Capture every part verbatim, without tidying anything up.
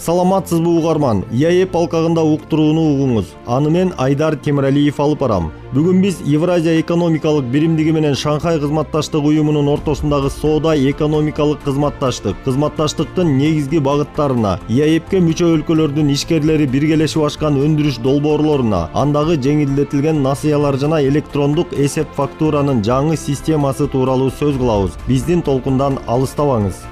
Саламатсызбы угарман? ИАЭП алкагында уктурууну угуңуз. Аны мен Айдар Темиралиев алып барам. Бүгүн биз Евразия экономикалык биримдиги менен Шанхай кызматташтык уюмунун ортосундагы соода экономикалык кызматташтык, кызматташтыктын негизги багыттарына, ИАЭПке мүчө өлкөлөрдүн ишкерлери биргелешип ачкан өндүрүш долбоорлоруна, андагы жеңилдетилген насыялар жана электрондук эсеп фактуранын жаңы системасы тууралуу сөз кылабыз. Биздин толкундан алыстабаңыз.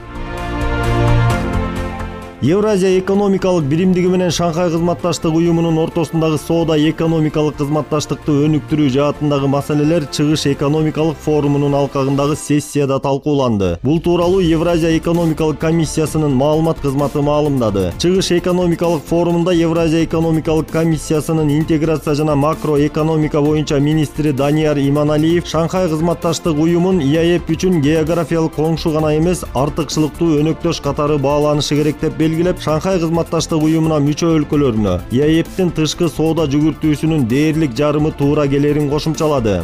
Евразия экономикалык биримдиги менен Шанхай кызматташтык уюмунун ортосундагы соода экономикалык кызматташтыкты өнүктүрүү жаатындагы маселелер Чыгыш экономикалык форумунун алкагындагы сессияда талкууланды. Бул тууралуу Евразия экономикалык комиссиясынын маалымат кызматы маалымдады. Чыгыш экономикалык форумунда Евразия экономикалык комиссиясынын интеграция жана макроэкономика боюнча министри Данияр Иманалиев Шанхай кызматташтык уюмун ИАЭП үчүн географиялык коңшу гана эмес, артыкчылыктуу өнөктөш катары бааланышы керек деп белгилеп, Шанхай кызматташтык уюмуна мүчө өлкөлөрүнө ИАЭПтин тышкы соода жүгүртүүсүнүн дээрлик жарымы туура келерин кошумчалады.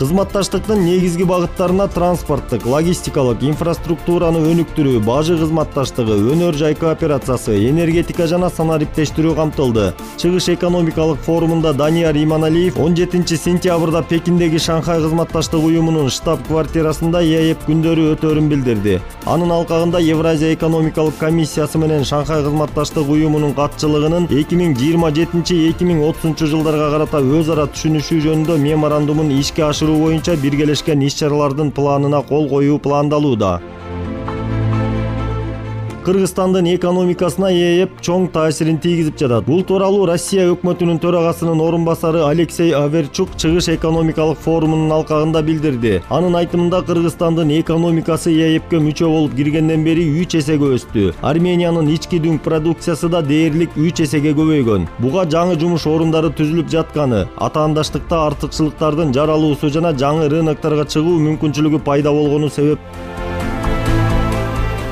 Кызматташтыктын негизги багыттарына транспорттук, логистикалык инфраструктураны өнүктүрүү, бажы кызматташтыгы, өнөр жай кооперациясы, энергетика жана санариптештирүү камтылды. Чыгыш экономикалык форумунда Данияр Иманалиев он жетинчи сентябрда Пекиндеги Шанхай кызматташтык уюмунун штаб-квартирасында ИАЭП күндөрү өтөөрүн билдирди. Анын алкагында Евразия экономикалык комиссиясы менен Шанхай кызматташтык уюмунун катчылыгынын эки миң жыйырма жетинчи эки миң отузунчу жылдарга карата өз ара түшүнүшүү жөнүндө меморандумун ишке ашыруу боюнча биргелешкен иш-чаралардын планына кол коюу пландалууда. Кыргызстандын экономикасына ИАЭП чоң таасирин тийгизип жатат. Бул тууралуу Россия өкмөтүнүн төрагасынын орун басары Алексей Аверчук Чыгыш экономикалык форумунун алкагында билдирди. Анын айтымында Кыргызстандын экономикасы ИАЭПке мүчө болуп киргенден бери үч эсеге өстү. Армениянын ички дүң продукциясы да дээрлик үч эсеге көбөйгөн. Буга жаңы жумуш орундары түзүлүп жатканы, атаандаштыкта артыкчылыктардын жаралуусу жана жаңы рынокторго чыгуу мүмкүнчүлүгү пайда болгону себеп.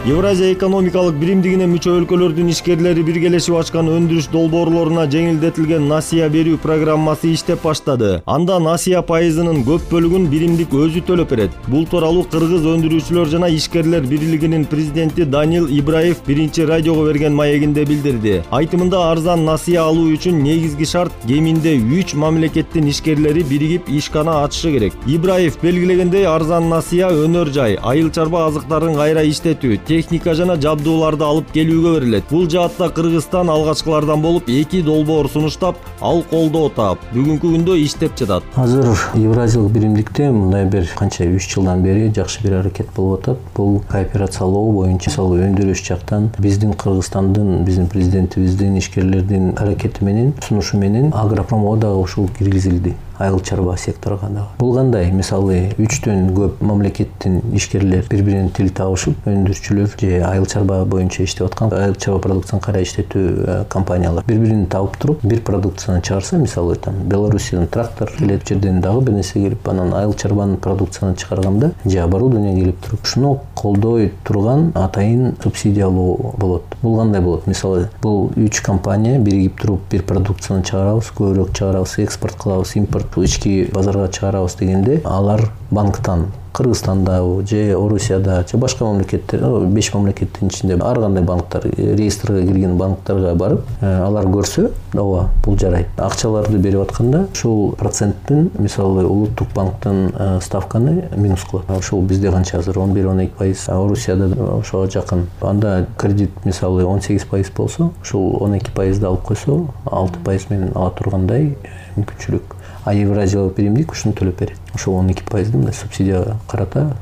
Евразия экономикалык биримдигине мүчө өлкөлөрдүн ишкерлери биргелешип ачкан өндүрүш долбоорлоруна жеңилдетилген насыя берүү программасы иштеп баштады. Анда насыя пайызынын көп бөлүгүн биримдик өзү төлөп берет. Бул тууралуу Кыргыз өндүрүүчүлөр жана ишкерлер бирлигинин президенти Данил Ибраев биринчи радиого берген маегинде билдирди. Айтымында арзан насыя алуу үчүн негизги шарт кеминде үч мамлекеттин ишкерлери биригип ишкана ачышы керек. Ибраев белгилегендей, арзан насыя өнөр жай, айыл чарба азыктарын кайра иштетүү, техника жана жабдууларды алып келүүгө берилет. Бул жаатта Кыргызстан алгачкылардан болуп эки долбоор сунуштап, ал колдоо таап, бүгүнкү күндө иштеп жатат. Азыр Евразиялык биримдикте мындай бир канча үч жылдан бери жакшы бир аракет болуп атат. Бул кооперациялоо боюнча, мисалы өндүрүш жактан биздин Кыргызстандын, биздин президентибиздин, ишкерлердин аракети менен, сунушу менен агропромго дагы ушул киргизилди. Айыл чарба секторуна дагы. Бул кандай? Мисалы үчтөн көп мамлекеттин ишкерлер бири-биринен тил табышып, өндүрүүчүлөр же айыл чарба боюнча иштеп аткан, айыл чарба продукцияны кайра иштетүү компаниялар бири-бирин табып туруп, бир продукцияны чыгарса, мисалы там Белоруссиядан трактор келет, жерден дагы бир нерсе келип, анан айыл чарбанын продукцияны чыгарганда же оборудование келип туруп, ушуну колдой турган атайын субсидиялоо болот. Бул кандай болот? Мисалы бул үч компания биригип туруп бир продукцияны чыгарабыз, көбүрөөк чыгарабыз, экспорт кылабыз, импорт ички базарга чыгарабыз дегенде, алар банктан Кыргызстанда же Орусияда же башка мамлекеттер, беш мамлекеттин ичинде ар кандай банктар, реестрге кирген банктарга барып, алар көрсө, ооба, бул жарайт. Акчаларды берип атканда, ушул проценттин, мисалы, улуттук банктын ставканы минус кылат. Ушул бизде канча азыр он бир он эки пайыз, Орусияда ошого жакын. Анда кредит, мисалы, он сегиз пайыз болсо, ушул он эки пайызды алып койсо, алты пайыз менен ала тургандай мүмкүнчүлүк. А Евразиялык биримдик ушуну төлөп берет. Ошол он эки пайызды мындай субсидия карата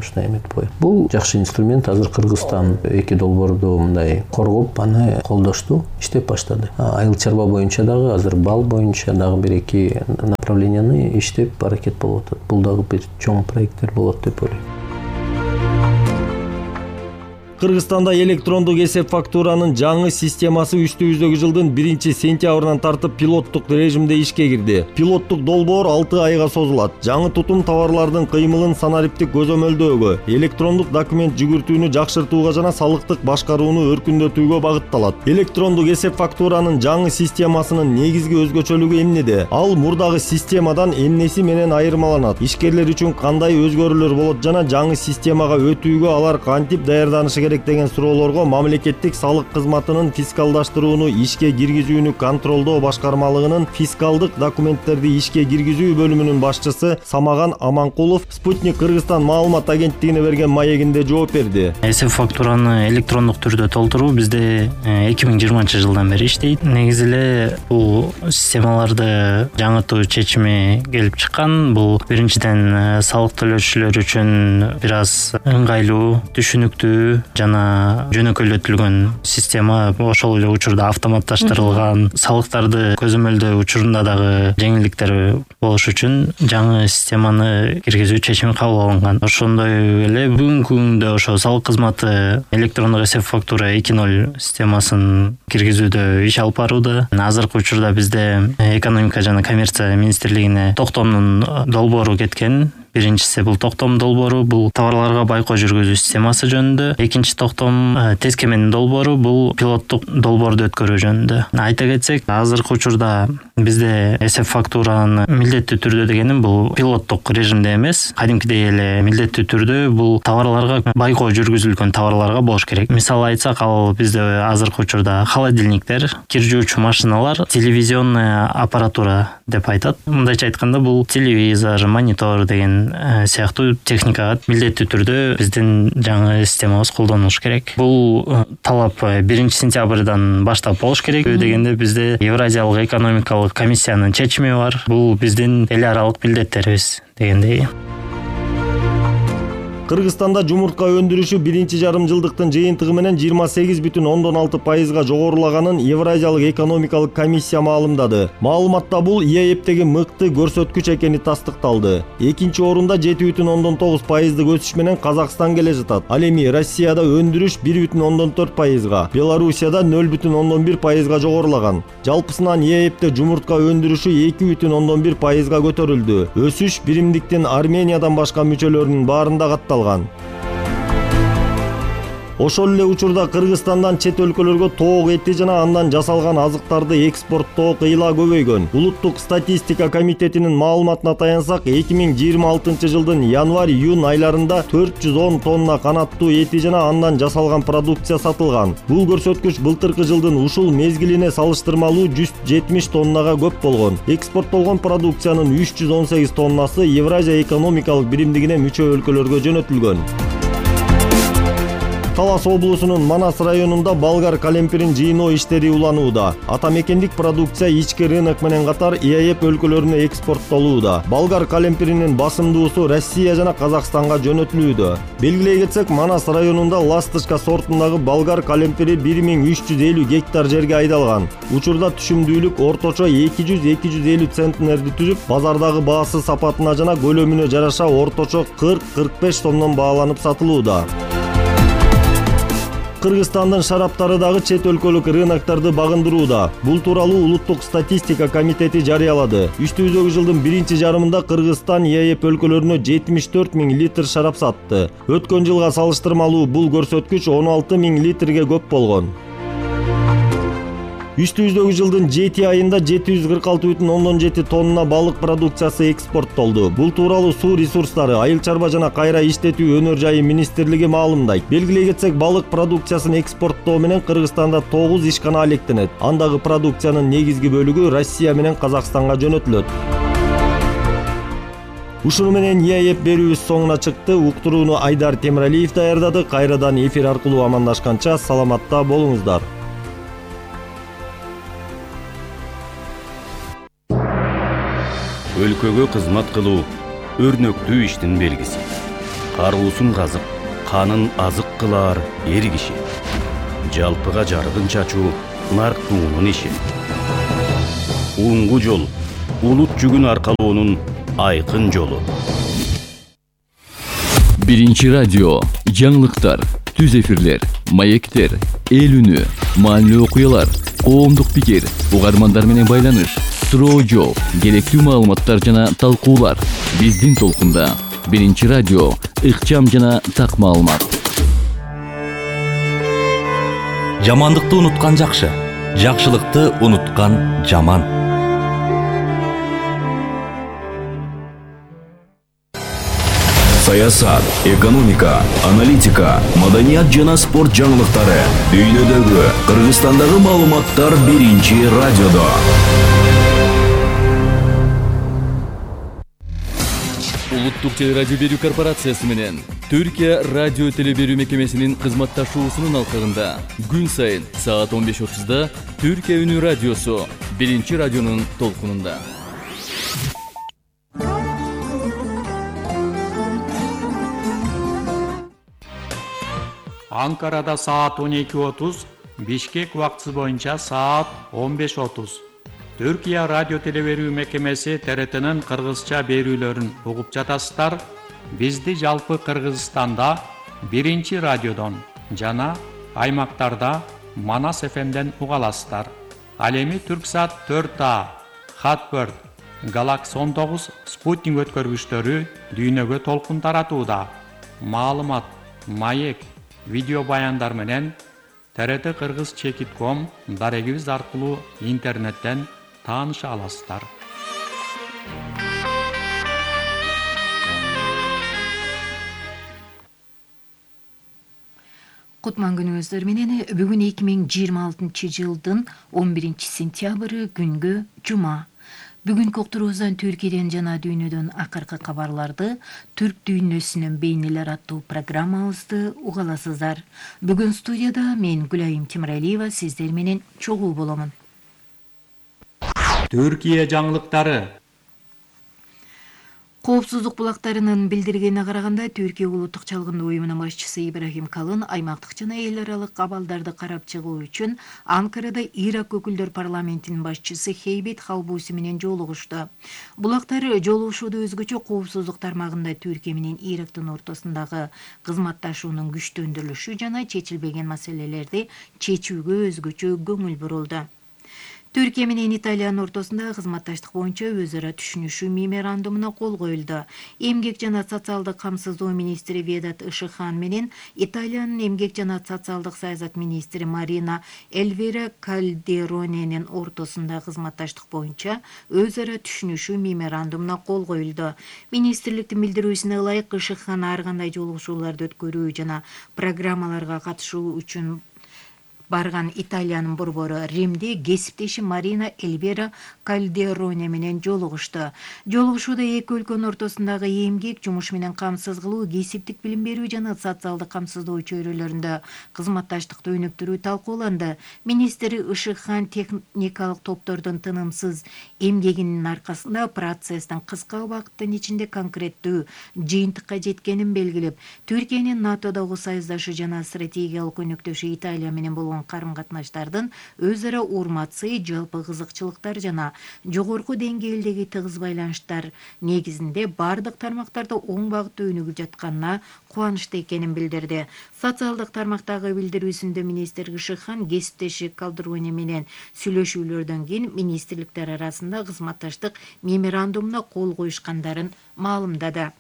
ушундай эметип коет. Бул жакшы инструмент. Азыр Кыргызстан эки долбоорду мындай коргоп, аны колдошту, иштеп баштады. Айыл чарба боюнча дагы, азыр бал боюнча дагы бир эки направленияны иштеп аракет болуп атат. Бул дагы бир чоң проекттер болот деп ойлойм. Кыргызстанда электрондук эсеп фактуранын жаңы системасы үстүбүздөгү жылдын биринчи сентябрынан тартып пилоттук режимде ишке кирди. Пилоттук долбоор алты айга созулат. Жаңы тутум товарлардын кыймылын санариптик көзөмөлдөөгө, электрондук документ жүгүртүүнү жакшыртууга жана салыктык башкарууну өркүндөтүүгө багытталат. Электрондук эсеп фактуранын жаңы системасынын негизги өзгөчөлүгү эмнеде? Ал мурдагы системадан эмнеси менен айырмаланат? Ишкерлер үчүн кандай өзгөрүүлөр болот жана жаңы системага өтүүгө алар кантип даярданышы керек деген суроолорго мамлекеттик салык кызматынын фискалдаштырууну ишке киргизүүнү контролдоо башкармалыгынын фискалдык документтерди ишке киргизүү бөлүмүнүн башчысы Самаган Аманкулов Спутник Кыргызстан маалымат агенттигине берген маегинде жооп берди. Эсеп фактураны электрондук түрдө толтуруу бизде эки миң жыйырманчы жылдан бери иштейт. Негизи эле бул системаларды жаңыртуу чечими келип чыккан. Бул биринчиден салык төлөөчүлөр үчүн бир аз ыңгайлуу, түшүнүктүү жана жөнөкөйлөтүлгөн система. Ошол эле учурда автоматташтырылган, салыктарды көзөмөлдөө учурунда дагы жеңилдиктер болуш үчүн жаңы системаны киргизүү чечими кабыл алынган. Ошондой эле бүгүнкү күндө ошо салык кызматы электрондук эсеп фактура эки ноль системасын киргизүүдө иш алып барууда. Азыркы учурда бизде экономика жана коммерция министрлигине токтомдун долбоору кеткен. Биринчиси бул токтом долбоору, бул товарларга байкоо жүргүзүү системасы жөнүндө. Экинчи токтом тескеменин долбоору, бул пилоттук долбоорду өткөрүү жөнүндө. Айта кетсек, азыркы учурда бизде эсеп фактураны милдеттүү түрдө дегеним бул пилоттук режимде эмес, кадимкидей эле милдеттүү түрдө бул товарларга байкоо жүргүзүлгөн товарларга болуш керек. Мисалы айтсак, ал бизде азыркы учурда холодильниктер, кир жуучу машиналар, телевизионная аппаратура деп айтат. Мындайча айтканда, бул телевизор, монитор деген сыяктуу техникага милдеттүү түрдө биздин жаңы системабыз колдонулуш керек. Бул талап биринчи сентябрдан баштап болуш керек дегенде бизде Евразиялык экономикалык комиссиянын чечими бар. Бул биздин эл аралык милдеттерибиз дегендей. Кыргызстанда жумуртка өндүрүшү биринчи жарым жылдыктын жыйынтыгы менен жыйырма сегиз бүтүн ондон алты пайызга жогорулаганын Евразиялык экономикалык комиссия маалымдады. Маалыматта бул ИЭЭптеги мыкты көрсөткүч экени тастыкталды. Экинчи орунда жети бүтүн ондон тогуз пайыздык өсүш менен Казакстан келе жатат. Ал эми Россияда өндүрүш бир бүтүн ондон төрт пайызга, Белоруссияда нөл бүтүн ондон бир пайызга жогорулаган. Жалпысынан ИЭЭпте жумуртка өндүрүшү эки бүтүн ондон бир пайызга көтөрүлдү. Өсүш биримдиктин Армениядан башка мүчөлөрүнүн баарында катталган. Ошол эле учурда Кыргызстандан чет өлкөлөргө тоок эти жана андан жасалган азыктарды экспорттоо кыйла көбөйгөн. Улуттук статистика комитетинин маалыматына таянсак, эки миң жыйырма алтынчы жылдын январь-июнь айларында төрт жүз он тонна канаттуу эти жана андан жасалган продукция сатылган. Бул көрсөткүч былтыркы жылдын ушул мезгилине салыштырмалуу жүз жетимиш тоннага көп болгон. Экспорттолгон продукциянын үч жүз он сегиз тоннасы Евразия экономикалык биримдигине мүчө өлкөлөргө жөнөтүлгөн. Талас облусунун Манас районунда болгар калемпирин жыйноо иштери уланууда. Ата мекендик продукция ички рынок менен катар ИЭЭп өлкөлөрүнө экспорттолууда. Болгар калемпиринин басымдуусу Россия жана Казакстанга жөнөтүлүүдө. Белгилей кетсек, Манас районунда ласточка сортундагы болгар калемпири бир миң үч жүз элүү гектар жерге айдалган. Учурда түшүмдүүлүк орточо эки жүз — эки жүз элүү центнерди түзүп, базардагы баасы сапатына жана көлөмүнө жараша орточо кырк — кырк беш сомдон бааланып сатылууда. Кыргызстандын шараптары дагы чет өлкөлүк рыноктарды багындырууда. Бул тууралуу Улуттук статистика комитети жарыялады. Үстүбүздөгү жылдын биринчи жарымында Кыргызстан ИЭЭп өлкөлөрүнө жетимиш төрт миң литр шарап сатты. Өткөн жылга салыштырмалуу бул көрсөткүч он алты миң литрге көп болгон. Үстүбүздөгү жылдын жети айында жети жүз кырк алты бүтүн ондон жети тонна балык продукциясы экспорттолду. Бул тууралуу Суу ресурстары, айыл чарба жана кайра иштетүү өнөр жайы министрлиги маалымдайт. Белгилей кетсек, балык продукциясын экспорттоо менен Кыргызстанда тогуз ишкана алектенет. Андагы продукциянын негизги бөлүгү Россия менен Казакстанга жөнөтүлөт. Ушуну менен ИЭЭп берүүбүз соңуна чыкты. Уктурууну Айдар Темиралиев даярдады. Кайрадан эфир аркылуу амандашканча саламатта болуңуздар. Өлкөгө кызмат кылуу өрнөктүү иштин белгиси. Каруусун казып, канын азык кылаар эр киши. Жалпыга жарыгын чачуу нарктуунун иши. Уңгу жол улут жүгүн аркалоонун айкын жолу. Биринчи радио, жаңылыктар, түз эфирлер, маектер, эл үнү, маанилүү окуялар, коомдук пикир, угармандар менен байланыш, суроо жооп, керектүү маалыматтар жана талкуулар. Биздин толкунда Биринчи радио, ыкчам жана так маалымат. Жамандыкты унуткан жакшы, жакшылыкты унуткан жаман. саясат, экономика, аналитика, маданият жана спорт жаңылыктары, дүйнөдөгү, Кыргызстандагы маалыматтар биринчи радиодо. Улуттук телерадио берүү корпорациясы менен Түркия радио телеберүү мекемесинин кызматташуусунун алкагында күн сайын саат он беш отузда Түркия үнү радиосу биринчи радионун толкунунда. Анкарада саат он эки отуз, Бишкек убактысы боюнча саат он беш отуз. Түркия радио телеберүү мекемеси Т Р Т'нин кыргызча берүүлөрүн угуп жатасыздар. Бизди жалпы Кыргызстанда биринчи радиодон жана аймактарда Манас эф эмден уга аласыздар. Ал эми Түрксат төрт А, Хатбird, Galaxy он тогуз спутник өткөргүчтөрү дүйнөгө толкун таратууда. Маалымат, маек, видео баяндар менен Т Р Т Кыргыз чекит ком дарегибиз аркылуу интернеттен тааныша аласыздар. Кутман күнүңүздөр менен бүгүн эки миң жыйырма алтынчы жылдын он биринчи сентябры күнгө жума. Бүгүнкү уктуруубуздан Түркияден жана дүйнөдөн акыркы кабарларды, түрк дүйнөсүнүн бейнелер аттуу программабызды уга аласыздар. Бүгүн студияда мен Гүлайым Темиралиева сиздер менен чогуу боломун. Түркия жаңылыктары. Коопсуздук булактарынын билдиргенине караганда, Түркия улуттук чалгындоо уюмунун башчысы Ибрахим Калын аймактык жана эл аралык абалдарды карап чыгуу үчүн Анкарада Ирак өкүлдөр парламентинин башчысы Хейбет Халбуси менен жолугушту. Булактар жолугушууда өзгөчө коопсуздук тармагында Түркия менен Ирактын ортосундагы кызматташуунун күчтөндүрүлүшү жана чечилбеген маселелерди чечүүгө өзгөчө көңүл бурулду. Түркия менен Италиянын ортосунда кызматташтык боюнча өз ара түшүнүшүү меморандумуна кол коюлду. Эмгек жана социалдык камсыздоо министри Ведат Ишыхан менен Италиянын эмгек жана социалдык саясат министри Марина Эльвира Кальдероненин ортосунда кызматташтык боюнча өз ара түшүнүшүү меморандумуна кол коюлду. Министрликтин билдирүүсүнө ылайык, Ишыхан ар кандай жолугушууларды өткөрүү жана программаларга катышуу үчүн барган Италиянын борбору Римде кесиптеши Марина Эльвира Кальдероне менен жолугушту. Жолугушууда эки өлкөнүн ортосундагы эмгек, жумуш менен камсыз кылуу, кесиптик билим берүү жана социалдык камсыздоо чөйрөлөрүндө кызматташтыкты өнүктүрүү талкууланды. Министр Ишыхан техникалык топтордун тынымсыз эмгегинин аркасында процесстин кыска убакыттын ичинде конкреттүү жыйынтыкка жеткенин белгилеп, Түркиянын НАТОдогу союздашы жана стратегиялык өнөктөшү Италия менен болгон карым-катнаштардын өз ара урматсы, жалпы кызыкчылыктар жана жогорку деңгээлдеги тыгыз байланыштар негизинде бардык тармактарда оң багытта өнүгүп жатканына кубанычты экенин билдирди. Социалдык тармактагы билдирүүсүндө министр Ишыхан кесиптеши Калдероне менен сүйлөшүүлөрдөн кийин министрликтер арасында кызматташтык меморандумуна кол коюшкандарын маалымдады.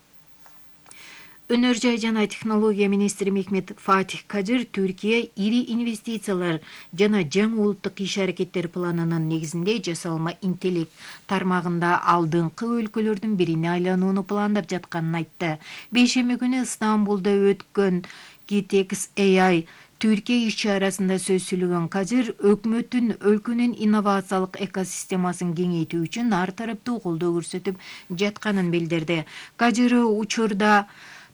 Өнөр жай жана технология министри Мехмет Фатих Кадыр Түркия ири инвестициялар жана жаңы улуттук иш-аракеттер планынын негизинде жасалма интеллект тармагында алдыңкы өлкөлөрдүн бирине айланууну пландап жатканын айтты. Бейшемби күнү Стамбулда өткөн Gitex A I Түркия иш-чарасында сөз сүйлөгөн Кадыр өкмөттүн өлкөнүн инновациялык экосистемасын кеңейтүү үчүн ар тараптуу колдоо көрсөтүп жатканын билдирди. Кадыр учурда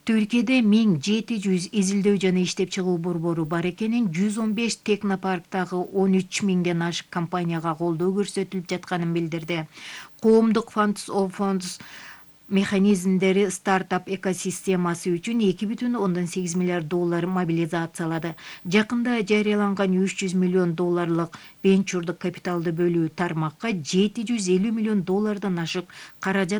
Түркияда миң жети жүз изилдөө жана иштеп чыгуу борбору бар экенин, жүз он беш технопарктагы он үч миңден ашык компанияга колдоо көрсөтүлүп жатканын билдирди. Коомдук Funds of Funds механизмдери стартап экосистемасы үчүн эки бүтүн ондон сегиз миллиард доллар мобилизациялады. Жакында жарыяланган үч жүз миллион долларлык венчурдук капиталды бөлүү тармакка жети жүз элүү миллион доллардан ашык каражат